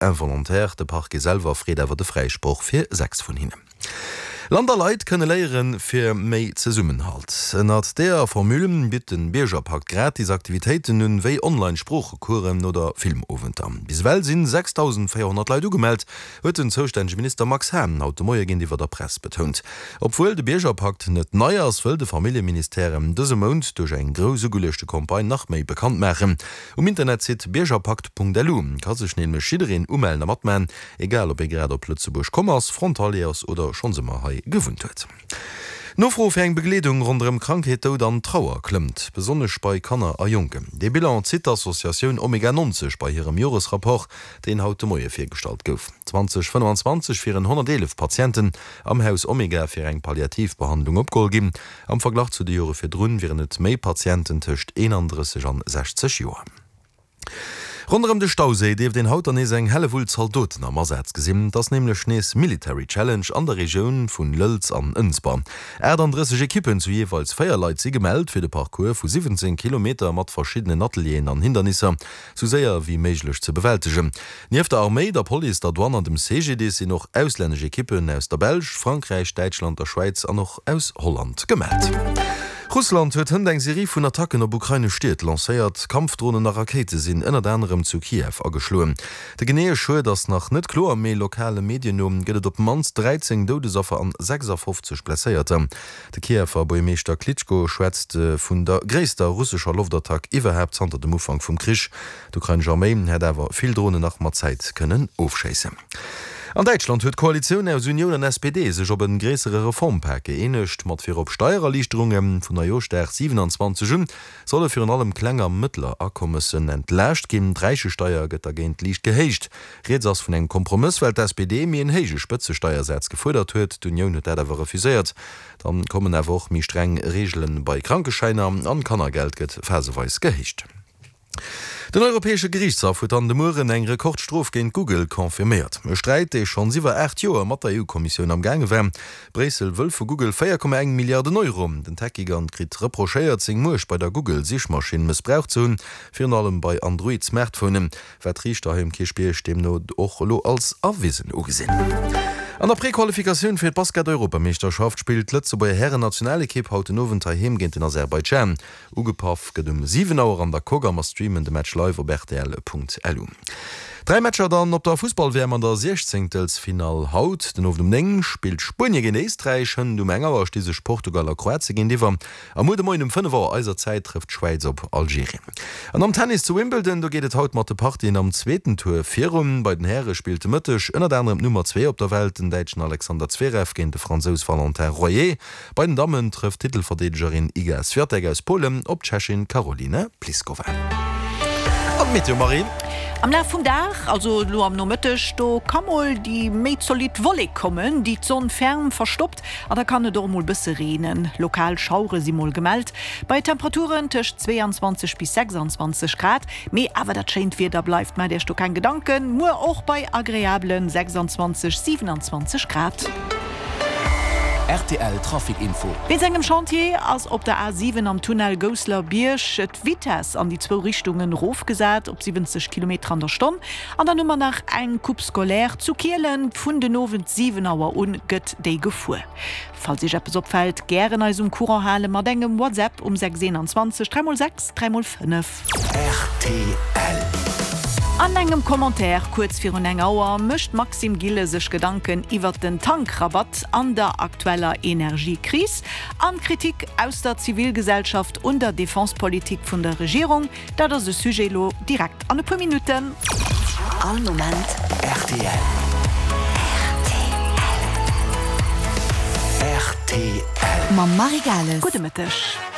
involontaire. De Parquet selwer freet awer de Fräisproch fir 6 vun hinnen. Land a Leit kënne léiere fir méi Zesummenhalt. Ënnert deeër Formule bitt de Biergerpakt gratis Aktivitéiten un, wéi Online-Sproochecoursen oder Filmowenter. Bis ewell sinn 6.400 Leit ugemellt, huet den zoustännege Minister Max Hahn haut de Moie géintiwwer der Press betount. Obwuel de Biergerpakt net nei ass, wëll de Familljeministère en dëse Mount duerch eng grouss ugeluechte Campagne nach méi bekannt maachen. Um Internetsite biergerpakt.lu ka sech nämlech jiddereen umellen a matman, Egal ob ee grad op Lëtzebuerg komm ass, Frontalier ass oder schonns ëmmer hei gewunnt huet. D'Nofro fir eng Begleedung ronderëm Krankheet, Doud an Trauer klëmmt, besonnesch bei Kanner a Jonken. Dee Bilan zitt d'Associatioun Omega 90 bei hirem Joresrapport, deen haut de Moie virgestallt gouf. 2025 wieren 111 Patienten am Haus Omega fir eng palliativ Behandlung opgeholl ginn. Am Verglach zu de Jore virdrun wieren et méi Patienten tëscht 31 an 60 Joer. Ronderëm de Stauséi dierft een haut dann nees eng Hellewull Zaldoten am Asaz gesinn. Et ass nämlech nees Military Challenge an der Regioun vun Lëlz an Ënsber. 38 Ekippen zu jeeweils 4 Leit si gemellt fir de Parcours vu 17 Kilometer mat verschiddenen Atelieren an Hindernisser sou séier wéi méiglech ze bewältegen. Nieft der Arméi, der Police, der Douane an dem CGDIS sinn och auslännesch Ekippen aus der Belsch, Frankräich, Däitschland, der Schwäiz an och aus Holland gemellt. Russland huet hënt eng Serie vun Attacken op ukrainesch Stied lancéiert. Kampfdronen a Rakéite sinn ënnert anerem zu Kiew ageschloen. De geneeë Schued ass nach net kloer, mee lokale Medien no gëtt et op d'mannst 13 Doudesaffer an 56 Blesséierter. De Kiewer Buergermeeschter Klitschko schwätzt vun der gréisster russescher Loftattack iwwerhaapt zanter dem Ufank vum Krich. D'ukrainesch Arméi hätt awer vill Dronen nach mat Zäit kënnen ofschéissen. An Däitschland huet d'Koalitioun aus Unioun an SPD sech op e gréissere Reformpak gëeenegt, mat virop Steiererliichterunge. Vun Neijooschdag 27 un solle virun allem kleng a mëttler Akommessen entlaascht ginn. D'Räichesteier gëtt dergéint liicht gehéicht. Rieds ass vun engem Kompromëss, well d'SPD méi en héije Spëtzesteiersaz gefuerdert huet. D'Unioun huet dat awer refuséiert. Dann kommen awer och méi streng Reegele bei Krankeschäiner an d'Kannergeld gëtt phaseweis gehéicht. Den Europäesche Geriichtshaff huet an de Mueren eng Rekordstrof géint Google confirméiert. E Sträit, dee schonns iwwer 8 Joer mat der EU-Kommissioun am gaange war. Bréissel wëll vu Google 4,1 Milliarden Euro. Den Tech-Gigant kritt reprochéiert, seng Muecht bei der Google-Sichmaschinn mëssbraucht ze hunn, virun allem bei Android-Smartphonen. Wat d'Riichter hei um Kierchbierg deemno och elo als erwisen ugesinn. An der Prequalifikatioun fir d'Basket-Europameeschterschaft spillt d'Lëtzebuerger Hären-Nationalekipp haut den Owend heiheem géint den Aserbaidschan. Ugepaff gëtt um 7 Auer an der Coque a mer streamen de Match live op rtl.lu. 3 Matcher dann op der Fussball-WM an der Siechzéngtelsfinall haut den Owend um 9 spillt Spuenie géint Éisträich, hënt um eng Auer sti sech Portugal a Kroatie géintiwwer a muer de Moien um 5 Auer eiser Zäit trëfft d'Schwäiz op Algerien. An am Tennis zu Wimbledon, do geet et haut mat de Partien am zweeten Tour virun. Bei den Häre spillt de Mëtteg ënnert anerem d'Nummer 2 op der Welt, den Däitschen Alexander Zverev géint de Fransous Valentin Royer. Bei den Dammen trëfft d'Titelverdeedegerin Iga Swiatek aus Polen op d'Tschechin Karolina Pliskova. An d'Meteo, Marie? Am Laf vum Dag, also elo am Nomëtteg, do ka mol déi méi zolidd Wollek kommen, déi d'Sonn ferm verstoppt a da kann et och mol bësse reenen. Lokal Schauere si mol gemellt, bei Temperaturen tëscht 22 bis 26 Grad. Mee awer dat schéint Wieder bleift, maacht Iech do keng Gedanken, muer och bei agreablen 26, 27 Grad. Rtl Trafic Info. Wéinst engem Chantier ass op der A7 am Tunnel Goussler Bierg d'Vitess an déi zwou Richtungen erofgesat op 70 Kilometer an der Stonn. An dann hu mer nach eng Coupe scolaire zu Kielen. Vun den Owend 7 Auer un gëtt déi gefuer. Falls Iech eppes opfält, gären eis um Courant hale mat engem WhatsApp um 6 21 3 x 6 3 x 5. Rtl. An engem Commentaire kuerz virun eng Auer mécht d'Maxime Gilles sech Gedanken iwwert den Tankrabatt an der aktueller Energiekris an d'Kritik aus der Zivilgesellschaft un der Defensepolitik vun der Regierung. Dat ass e Sujet elo direkt an e puer Minutten. All Moment rtl. Rtl. Mam Marie Gales. Gudde Mëtteg.